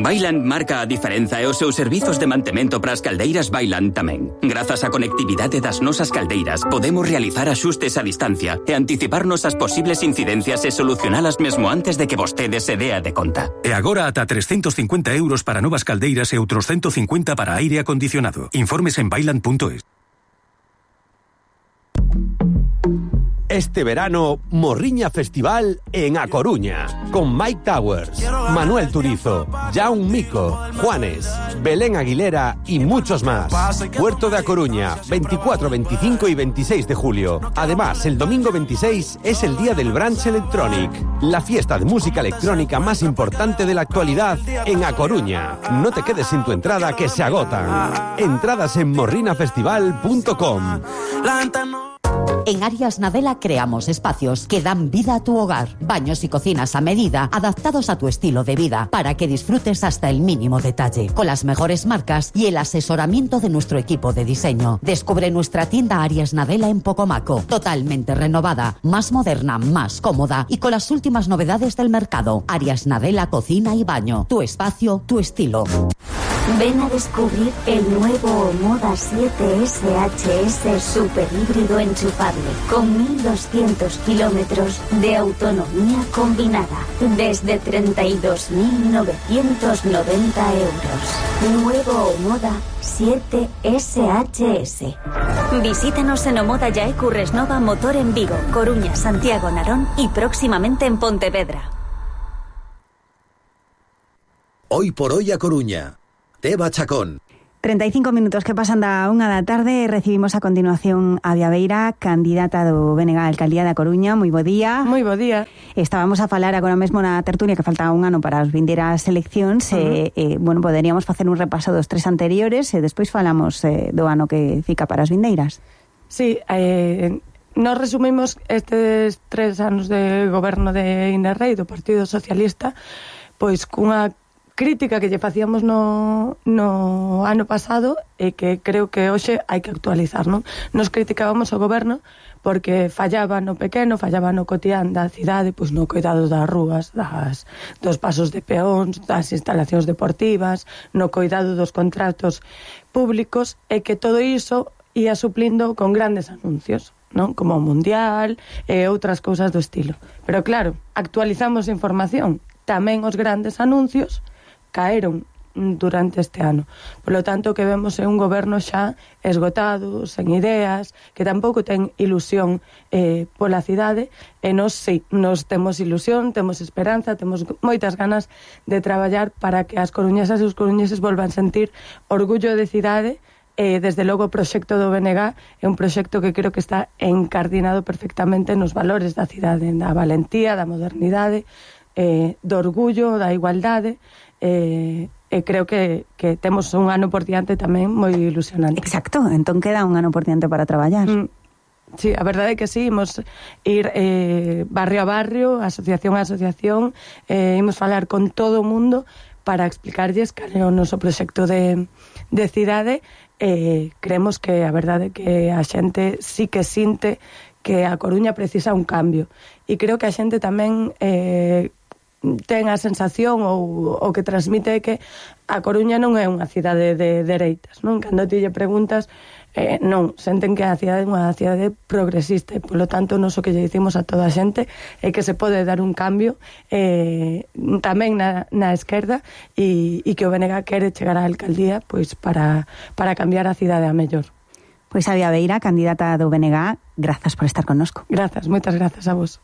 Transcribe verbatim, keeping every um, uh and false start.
Vaillant marca a diferenza e os seus servizos de mantemento para as caldeiras Vaillant tamén. Grazas á conectividade das nosas caldeiras, podemos realizar axustes a distancia e anticiparnos as posibles incidencias e solucionalas mesmo antes de que vostede se dea de conta. E agora ata trescentos cincuenta euros para novas caldeiras e outros ciento cincuenta para aire acondicionado. Informes en vaillant punto es. Este verano, Morriña Festival en A Coruña, con Mike Towers, Manuel Turizo, Jaume Mico, Juanes, Belén Aguilera y muchos más. Puerto de A Coruña, veinticuatro, veinticinco y veintiséis de julio. Además, el domingo veintiséis es el día del Brunch Electronic, la fiesta de música electrónica más importante de la actualidad en A Coruña. No te quedes sin tu entrada, que se agotan. Entradas en morrina festival punto com. En Arias Nadela creamos espacios que dan vida a tu hogar. Baños y cocinas a medida, adaptados a tu estilo de vida, para que disfrutes hasta el mínimo detalle. Con las mejores marcas y el asesoramiento de nuestro equipo de diseño. Descubre nuestra tienda Arias Nadela en Pocomaco. Totalmente renovada, más moderna, más cómoda y con las últimas novedades del mercado. Arias Nadela Cocina y Baño. Tu espacio, tu estilo. Ven a descubrir el nuevo Omoda siete S H S super híbrido enchufable con mil doscientos kilómetros de autonomía combinada desde treinta y dos mil novecientos noventa euros. Nuevo Omoda siete S H S. Visítanos en Omoda Yae Curresnova Motor en Vigo, Coruña, Santiago, Narón y próximamente en Pontevedra. Hoy por hoy a Coruña. Teba Chacón. treinta y cinco minutos que pasan da unha da tarde. Recibimos a continuación a Bea Beira, candidata do B N G á Alcaldía da Coruña. Moi bo día. Moi bo día. Estábamos a falar agora mesmo na tertulia que faltaba un ano para as vindeiras eleccións. Uh-huh. e, e, bueno, poderíamos facer un repaso dos tres anteriores e despois falamos eh, do ano que fica para as vindeiras. Sí, eh, nos resumimos estes tres anos de goberno de Inés Rei, do Partido Socialista, pois cunha crítica que lle facíamos no, no ano pasado e que creo que hoxe hai que actualizar, non? Nos criticábamos o goberno porque fallaba no pequeno, fallaba no cotián da cidade, pois no cuidado das rúas, das, dos pasos de peóns, das instalacións deportivas, no cuidado dos contratos públicos, e que todo iso ia suplindo con grandes anuncios, non? Como o Mundial e outras cousas do estilo. Pero claro, actualizamos a información, tamén os grandes anuncios caeron durante este ano. Por lo tanto, que vemos é un goberno xa esgotado, sen ideas, que tampouco ten ilusión eh, pola cidade, e nos, sí, nos temos ilusión, temos esperanza, temos moitas ganas de traballar para que as coruñesas e os coruñeses volvan sentir orgullo de cidade. E, desde logo, o proxecto do B N G é un proxecto que creo que está encardinado perfectamente nos valores da cidade, da valentía, da modernidade, eh, do orgullo, da igualdade. E, e creo que, que temos un ano por diante tamén moi ilusionante. Exacto, entón queda un ano por diante para traballar. Mm, sí, a verdade é que sí, imos ir eh, barrio a barrio, asociación a asociación, eh, imos falar con todo o mundo para explicarlles cal é o noso proxecto de, de cidade. Eh, creemos que a verdade é que a xente sí que sinte que a Coruña precisa un cambio, e creo que a xente tamén eh, ten a sensación ou o que transmite é que a Coruña non é unha cidade de dereitas, non? Cando ti lle preguntas, eh, non, senten que a cidade é unha cidade progresista, e polo tanto nos o que lle dicimos a toda a xente é que se pode dar un cambio eh, tamén na, na esquerda, e, e que o B N G quere chegar á alcaldía pois para, para cambiar a cidade a mellor. Pois a Bea Beira, candidata do B N G, grazas por estar connosco. Grazas, moitas grazas a vos.